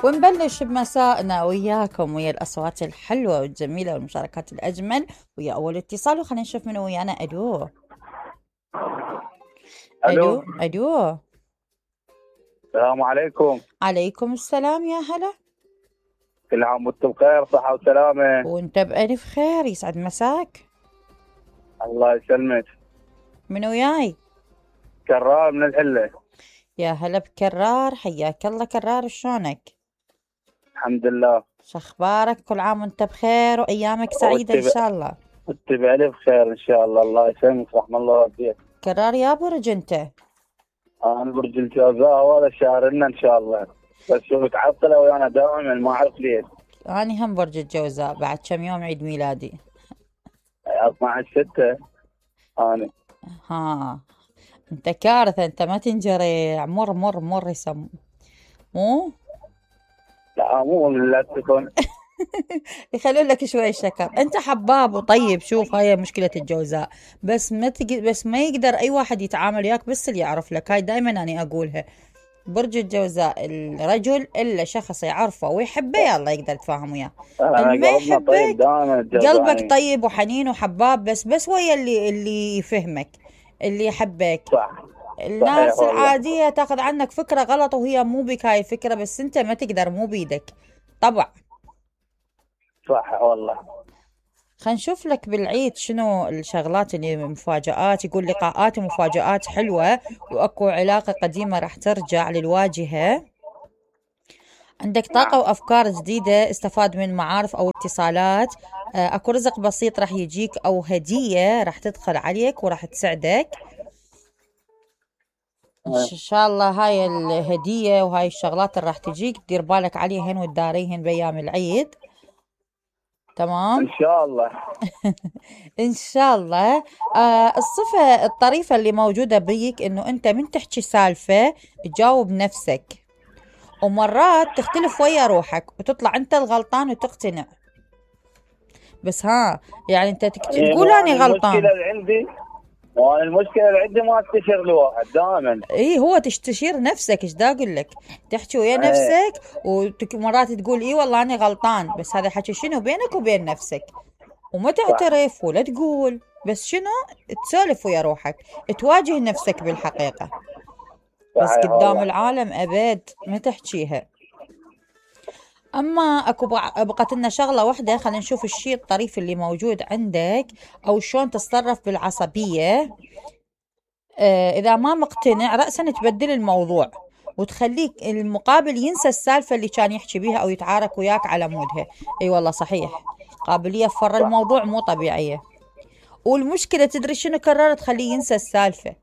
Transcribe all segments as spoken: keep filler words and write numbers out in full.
ونبلش بمسائنا وياكم ويا الأصوات الحلوة والجميلة والمشاركات الأجمل ويا أول اتصال، وخلينا نشوف منو ويانا. ألو الو ألو ألو السلام عليكم. عليكم السلام، يا هلا. كل عام وانتم بخير، صحة وسلامة. وانت بألف خير، يسعد مساك. الله يسلمك. من وياي؟ كرار من الحلة. يا هلا بكرار، حياك الله كرار، شلونك؟ الحمد لله. شخبارك؟ كل عام وانت بخير وأيامك سعيدة إن شاء الله. وانت بألف خير إن شاء الله. الله يسلمك، رحم الله والديك. كرار يا برج انت؟ أنا برج الجوزاء، وهذا شهر لنا إن شاء الله، بس شو متعطلة ويانا دائما، ما أعرف ليش. أنا هم برج الجوزاء، بعد كم يوم عيد ميلادي. اثناعش ستة أنا. ها انت كارثة، انت ما تنجري، مر مر مر يسم مو لا مو لا تكون. يخلون لك شوي شكر. انت حباب وطيب. شوف، هاي مشكلة الجوزاء، بس ما تق... بس ما يقدر اي واحد يتعامل وياك، بس اللي يعرف لك. هاي دائما انا اقولها، برج الجوزاء الرجل الا شخص يعرفه ويحبه يلا يقدر يتفاهم وياه. اللي ما قلبنا طيب يحبك دائما الجوزاء. قلبك طيب وحنين وحباب، بس بس ويا اللي اللي يفهمك، اللي يحبك. صح. الناس العادية تاخذ عنك فكرة غلط وهي مو بك هاي الفكرة، بس انت ما تقدر، مو بيدك طبعا. صح والله. خلينا نشوف لك بالعيد شنو الشغلات اللي مفاجآت. يقول لقاءات ومفاجآت حلوة، واكو علاقة قديمة راح ترجع للواجهة. عندك طاقة وافكار جديدة، استفاد من معارف او اتصالات. اكو رزق بسيط راح يجيك، او هدية راح تدخل عليك وراح تسعدك ان شاء الله. هاي الهدية وهاي الشغلات اللي راح تجيك دير بالك عليهن وتداريهن بأيام العيد. تمام إن شاء الله. إن شاء الله. آه الصفة الطريفة اللي موجودة بيك إنه أنت من تحكي سالفة تجاوب نفسك، ومرات تختلف ويا روحك وتطلع أنت الغلطان وتقتنع. بس ها يعني أنت تقول أنا غلطان. المشكلة اللي عندي وانا المشكله اللي عندي ما استشير الواحد دائما. اي هو تستشير نفسك، ايش دا اقول لك، تحكي ويا نفسك ومرات تقول اي والله انا غلطان، بس هذا حكي شنو بينك وبين نفسك، وما تعترف ولا تقول، بس شنو تسولف ويا روحك، تواجه نفسك بالحقيقه، بس قدام العالم ابد ما تحكيها. اما اكو بقت لنا شغله واحده، خلينا نشوف الشيء الطريف اللي موجود عندك، او شلون تتصرف بالعصبيه. آه إذا ما مقتنع رأسا تبدل الموضوع وتخليك المقابل ينسى السالفة اللي كان يحكي بيها أو يتعارك وياك على مودها. أي والله صحيح، قابلية فر الموضوع مو طبيعية. والمشكلة تدري شنو كرر تخليه ينسى السالفة،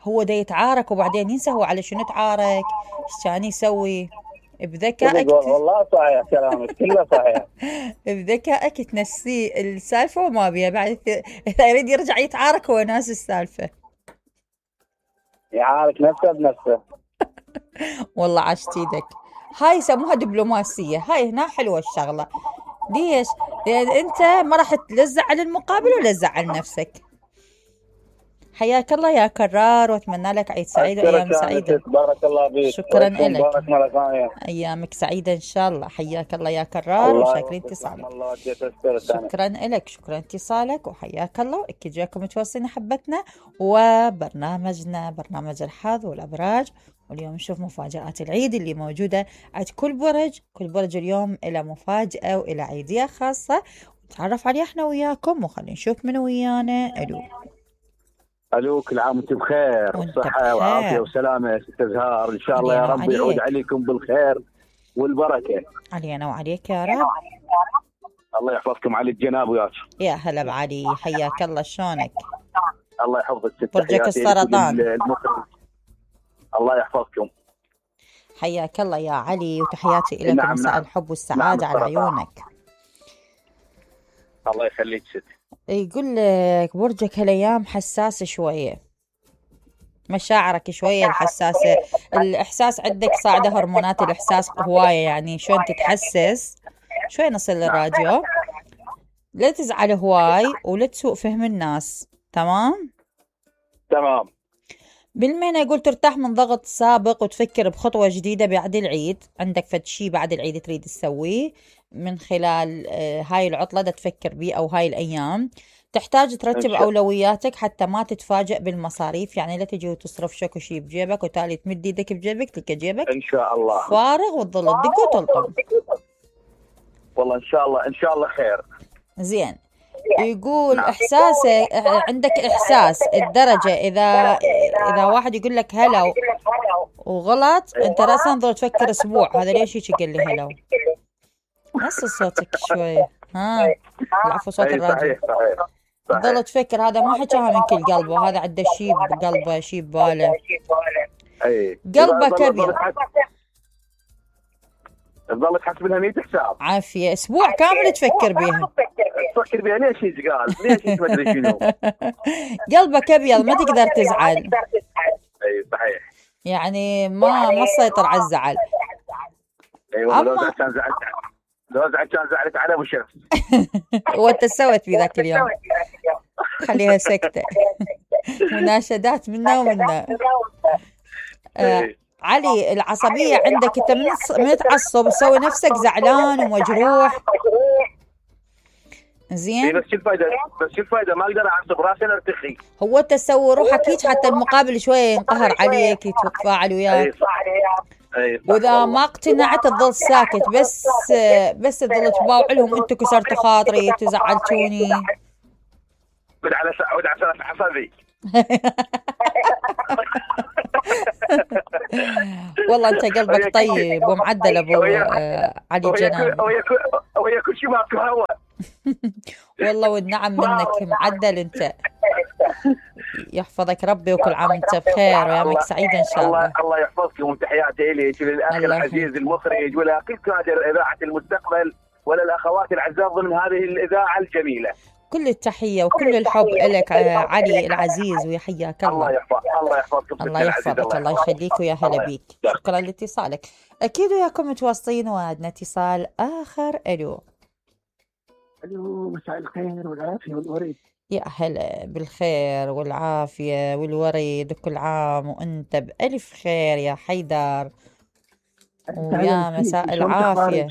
هو دا يتعارك وبعدين ينسى هو على شنو تعارك، ايش كان يسوي. بذكائك والله صحيح كلامك كله صحيح. بذكائك تنسيه السالفة وما بيها بعد، إذا يريد يرجع يتعارك هو ناس السالفة، يعارك نفسه بنفسه. والله عشت ايدك. هاي يسموها دبلوماسية، هاي هنا حلوة الشغلة. ليش؟ لأن أنت ما راح تزعل المقابل ولا تزعل نفسك. حياك الله يا كرار، واتمنى لك عيد سعيد وايام سعيده. بارك الله فيك. شكرا لك. بارك مرة ثانية. ايامك سعيده ان شاء الله. حياك الله يا كرار وشاكرين اتصالك. شكرا لك، شكرا اتصالك وحياك الله. اكيد جاكم متواصلين حبتنا وبرنامجنا برنامج الحظ والابراج، واليوم نشوف مفاجآت العيد اللي موجوده عند كل برج. كل برج اليوم له مفاجاه وله عيديه خاصه، نتعرف عليها احنا وياكم، وخلينا نشوف من ويانا. الو الو كل عام وانتم بخير وصحة وعافية وسلامة ست زهار، ان شاء الله يا رب يعود عليكم بالخير والبركة. علينا وعليك يا رب. الله يحفظكم علي الجناب وياك. يا هلا بعلي، حياك الله، شلونك؟ الله يحفظك ست. برجك السرطان. الله يحفظكم. حياك الله يا علي، وتحياتي لك. نعم مساء نعم. الحب والسعادة نعم على عيونك. الله يخليك ست. يقول لك برجك هالايام حساس شويه، مشاعرك شويه الحساسه، الاحساس عندك صاعده، هرمونات الاحساس هوايه، يعني شلون تتحسس. شوي نصل للراديو، لا تزعل هواي ولا تسوء فهم الناس. تمام تمام. بالمهنة يقول ترتاح من ضغط سابق وتفكر بخطوة جديدة بعد العيد. عندك فد شي بعد العيد تريد تسويه من خلال هاي العطلة دا تفكر بيه أو هاي الأيام. تحتاج ترتب أولوياتك حتى ما تتفاجأ بالمصاريف، يعني لا تجي وتصرف شكو شي بجيبك وتالي تمد ايدك بجيبك تلقى جيبك ان شاء الله فارغ وتظل تدق وتلطم. والله ان شاء الله ان شاء الله خير. زين. يقول إحساسه عندك إحساس الدرجة إذا إذا واحد يقول لك هلا وغلط أنت رأسا ظل تفكر أسبوع هذا ليش هيك قال لي هلا. نص صوتك شوي. ها العفو صوت الراجل. ظل تفكر هذا ما حكاها من كل قلبه، هذا عنده شي بقلبه شي بباله. قلبه كبير. تظل تحسب لها مية حساب. عافية أسبوع كامل تفكر بيها. تفكر بيها ليش هيك قال؟ ليش هيك ما أدري شنو. قلبك أبيض ما تقدر تزعل. أي صحيح. يعني ما ما تسيطر على الزعل. أيوة لو زعلت كان زعلت لو زعلت كان زعلت على أبو شمس. وأنت سويت في ذاك اليوم. خليها سكتة. مناشدات منا ومنا. آه. علي العصبية عندك انت من تعصب تسوي نفسك زعلان ومجروح. زين بس شو الفايدة بس شو الفايدة ما اقدر اعصب راسي ارتخي. هو تسوي روحك هيك حتى المقابل شوية ينقهر عليك يتفاعل وياك. واذا ما اقتنعت تظل ساكت بس بس تظل تباوع لهم انتوا كسرتوا خاطري تزعلتوني. ود على ود على عصبي. والله انت قلبك طيب ومعدل ابو علي جنان. ويا كل شيء ماكو هوا. والله والنعم منك معدل انت. يحفظك ربي وكل عام وانت بخير ويامك سعيده ان شاء الله. الله يحفظكم وتحياتي اليك للاخ العزيز المخرج ولكل كادر اذاعه المستقبل وللاخوات الاعزاء ضمن هذه الاذاعه الجميله. كل التحية وكل الحب لك علي العزيز ويحياك الله. الله يحفظك الله يحفظك الله يحفظك الله يخليك ويا هلا بيك. شكرا لاتصالك. أكيد وياكم متواصلين وعندنا اتصال آخر. ألو ألو مساء الخير والعافية والورد. يا هلا بالخير والعافية والورد وكل عام وأنت بألف خير يا حيدر ويا مساء العافية.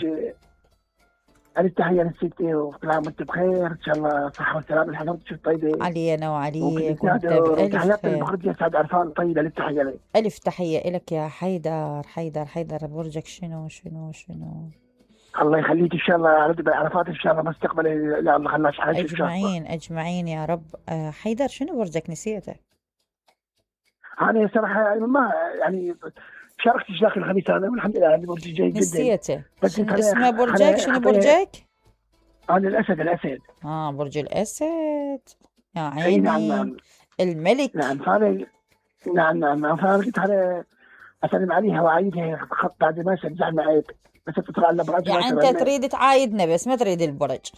ألف تحية للستي وكل عام وأنت بخير إن شاء الله صحة وسلامة لحضرتك شو طيبة. علينا وعليك وأنت بألف تحيات خير. المخرجة سعد عرفان طيبة ألف تحية لك. ألف تحية لك يا حيدر. حيدر حيدر برجك شنو شنو شنو. الله يخليك إن شاء الله على عرفات إن شاء الله مستقبل لا الله خلاش حاجة أجمعين أجمعين يا رب. حيدر شنو برجك نسيته؟ أنا صراحة يعني ما يعني شاركت داخل الخميس أنا والحمد لله عندي برج جيد جدا. نسيته. بس اسمه برجك شنو برجك؟ أنا الأسد الأسد. آه برج الأسد يا عيني. أي نعم نعم. الملك. نعم فأنا نعم نعم فأنا قلت أنا أسلم عليها وأعيدها خط بعد ما شجع معي بس تطلع على برج. يعني أنت تريد تعايدنا بس ما تريد البرج.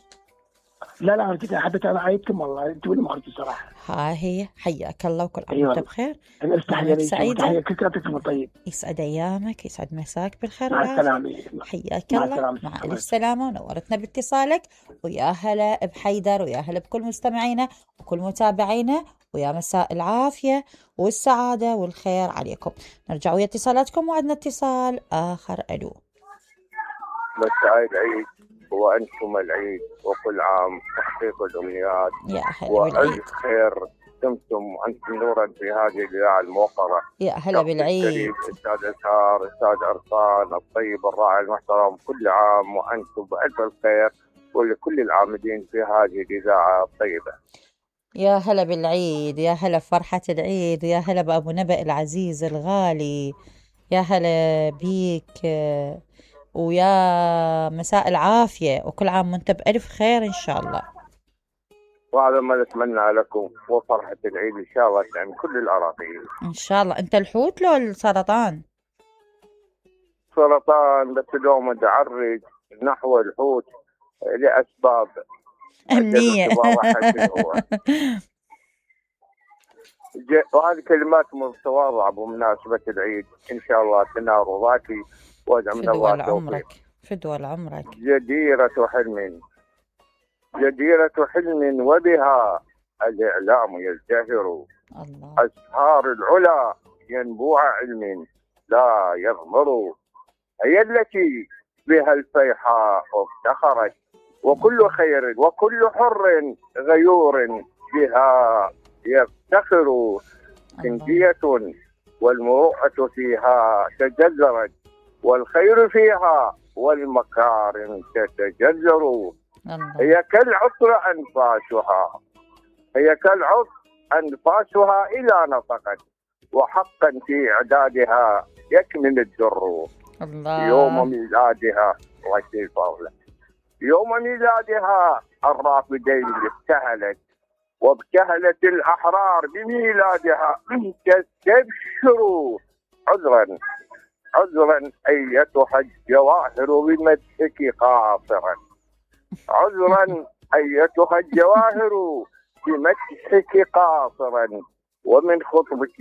لا لا كنت حبيت أنا أعيدكم والله أنتوا اللي مخرج الصراحة. ها هي حياك الله وكل عام أيوة. وأنت بخير. أنا تحية سعيدة. كل طيب. يسعد أيامك يسعد مساك بالخير مع السلامة. حياك الله مع ألف سلامة ونورتنا باتصالك ويا هلا بحيدر ويا هلا بكل مستمعينا وكل متابعينا ويا مساء العافية والسعادة والخير عليكم. نرجع ويا اتصالاتكم وعندنا اتصال آخر. ألو مساء العيد وأنتم العيد وكل عام تحقيق الأمنيات يا هلا وألف خير دمتم وأنتم نورا في هذه الإذاعة الموقرة. يا هلا بالعيد أستاذ أسهار أستاذ عرفان الطيب الراعي المحترم كل عام وأنتم بألف الخير ولكل العاملين في هذه الإذاعة الطيبة. يا هلا بالعيد يا هلا فرحة العيد يا هلا بأبو نبأ العزيز الغالي يا هلا بيك ويا مساء العافية وكل عام وانت بألف خير إن شاء الله. وهذا ما نتمنى لكم وفرحة العيد إن شاء الله يعني كل الأراضين إن شاء الله. أنت الحوت لو السرطان؟ سرطان بس اليوم متعرج نحو الحوت لأسباب أمنية. وهذه كلمات متواضعة بمناسبة العيد إن شاء الله تنار وضاكي وجع من الله عمرك فدوى عمرك. جديرة حلم جديرة حلم وبها الإعلام يزدهر الله. أسهار العلا ينبوع علم لا يغمر، هي التي بها الفيحاء افتخرت، وكل خير وكل حر غيور بها يفتخر. كندية والمروءة فيها تجذرت، والخير فيها والمكارم تتجذر. هي كالعطر أنفاسها هي كالعطر أنفاسها إلى نطقت، وحقا في إعدادها يكمن الدر. الله. يوم ميلادها يوم ميلادها الرافدين ابتهلت، وابتهلت الأحرار بميلادها تستبشروا. عذرا عذرا أيتها الجواهر بمدحك قاصرا، عذرا أيتها الجواهر بمدحك قاصرا، ومن خطبك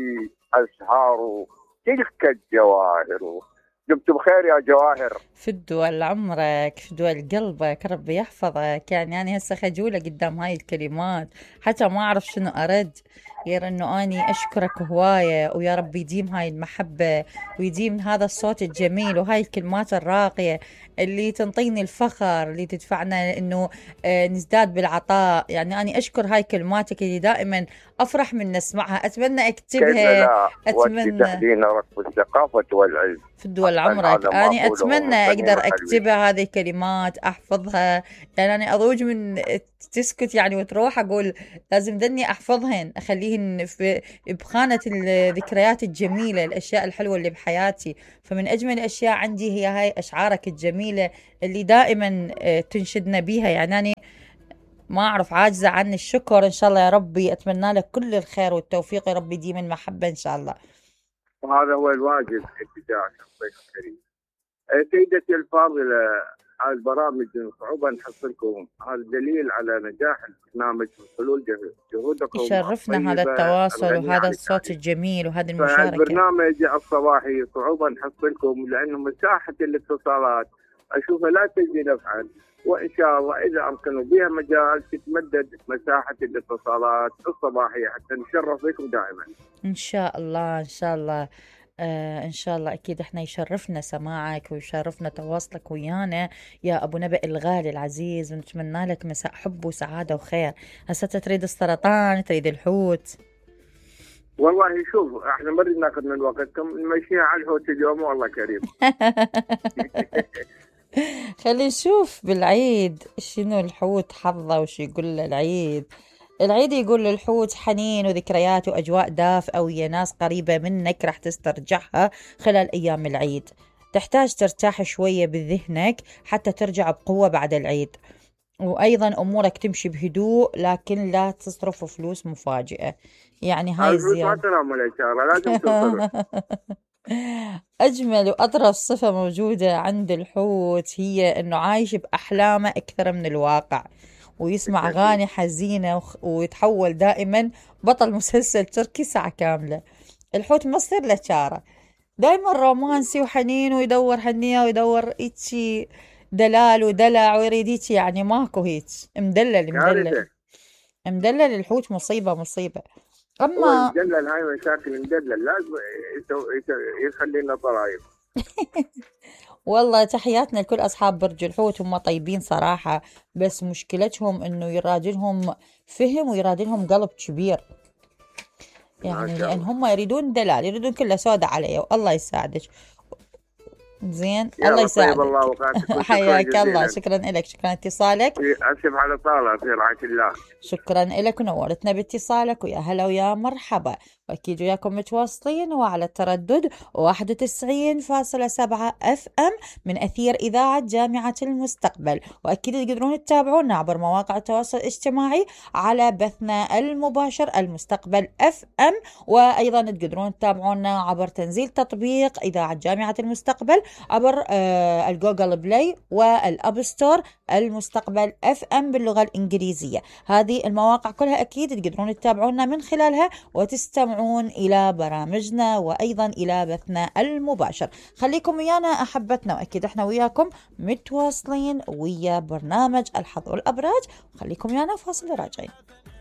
أزهار تلك الجواهر. دمت بخير يا جواهر. في الدول عمرك، في الدول قلبك، ربي يحفظك. يعني أنا هسه خجولة قدام هاي الكلمات، حتى ما أعرف شنو أرد غير أنه أني أشكرك هواية، ويا رب يديم هاي المحبة ويديم هذا الصوت الجميل وهاي الكلمات الراقية اللي تنطيني الفخر، اللي تدفعنا أنه نزداد بالعطاء. يعني أنا أشكر هاي كلماتك اللي دائما أفرح من نسمعها، أتمنى أكتبها. أتمنى تحدينا ركب الثقافة والعلم في الدول عمرك. أنا أتمنى أقدر أكتبها هذه الكلمات، أحفظها. يعني أنا أضوج من تسكت يعني وتروح أقول لازم ذني أحفظهن، أخليهن في بخانة الذكريات الجميلة، الأشياء الحلوة اللي بحياتي. فمن أجمل الأشياء عندي هي هاي أشعارك الجميلة اللي دائما تنشدنا بيها. يعني أنا ما أعرف، عاجزة عن الشكر. إن شاء الله يا ربي أتمنى لك كل الخير والتوفيق، يا ربي ديما المحبة إن شاء الله. وهذا هو الواجب ابتداء الضيف الكريم. سيدتي الفاضلة، هذه البرامج صعوبة نحصلكم، هذا دليل على نجاح البرنامج وحلول جهودكم. يشرفنا هذا التواصل وهذا الصوت الجميل وهذه المشاركة. البرنامج الصباحي صعوبة نحصلكم لأنه مساحة الاتصالات أشوفها لا تجدي نفعا، وإن شاء الله إذا أمكنوا بها مجال تتمدد مساحة الاتصالات الصباحية حتى نشرف بكم دائما. إن شاء الله إن شاء الله آه إن شاء الله. أكيد إحنا يشرفنا سماعك ويشرفنا تواصلك ويانا يا أبو نبأ الغالي العزيز، ونتمنى لك مساء حب وسعادة وخير. هسه تريد السرطان، تريد الحوت؟ والله شوف احنا ما نريد ناخذ من وقتكم، نمشيها على الحوت اليوم والله كريم. خلي نشوف بالعيد شنو الحوت حظه وش يقول له العيد. العيد يقول للحوت حنين وذكريات وأجواء دافئة ويا ناس قريبة منك راح تسترجعها خلال أيام العيد. تحتاج ترتاح شوية بذهنك حتى ترجع بقوة بعد العيد، وأيضا أمورك تمشي بهدوء لكن لا تصرف فلوس مفاجئة. يعني هاي الزيادة أجمل وأطرف صفة موجودة عند الحوت هي أنه عايش بأحلامه أكثر من الواقع، ويسمع أغاني حزينة ويتحول دائما بطل مسلسل تركي ساعة كاملة. الحوت ما صير له شارة، دائما رومانسي وحنين ويدور هنية ويدور إيشي دلال ودلع ويريد إيشي، يعني ماكو هيك مدلل مدلل مدلل. الحوت مصيبة مصيبة. أما مدلل هاي مشاكل مدلل لازم يخلينا ضرائب. والله تحياتنا لكل أصحاب برج الحوت، هم طيبين صراحة، بس مشكلتهم إنه يرادلهم فهم ويرادلهم قلب كبير، يعني لأن هم يريدون دلال، يريدون كله سودة عليه. والله يساعدك زين، الله يساعدك. الله حياك الله، شكرا لك، شكرا اتصالك. أسف على طالة في رعاية الله. شكرا لك ونورتنا باتصالك، ويا هلا ويا مرحبا. وأكيد وياكم متواصلين وعلى التردد واحد وتسعين فاصلة سبعة اف ام من أثير إذاعة جامعة المستقبل. وأكيد تقدرون تتابعونا عبر مواقع التواصل الاجتماعي على بثنا المباشر المستقبل اف ام، وأيضا تقدرون تتابعونا عبر تنزيل تطبيق إذاعة جامعة المستقبل عبر آه الجوجل بلاي والأب ستور المستقبل اف ام باللغة الإنجليزية. هذه المواقع كلها أكيد تقدرون تتابعونا من خلالها وتستمعون إلى برامجنا وأيضا إلى بثنا المباشر. خليكم ويانا أحبتنا، وأكيد احنا وياكم متواصلين ويا برنامج الحظ والأبراج. خليكم ويانا، فاصل راجعين.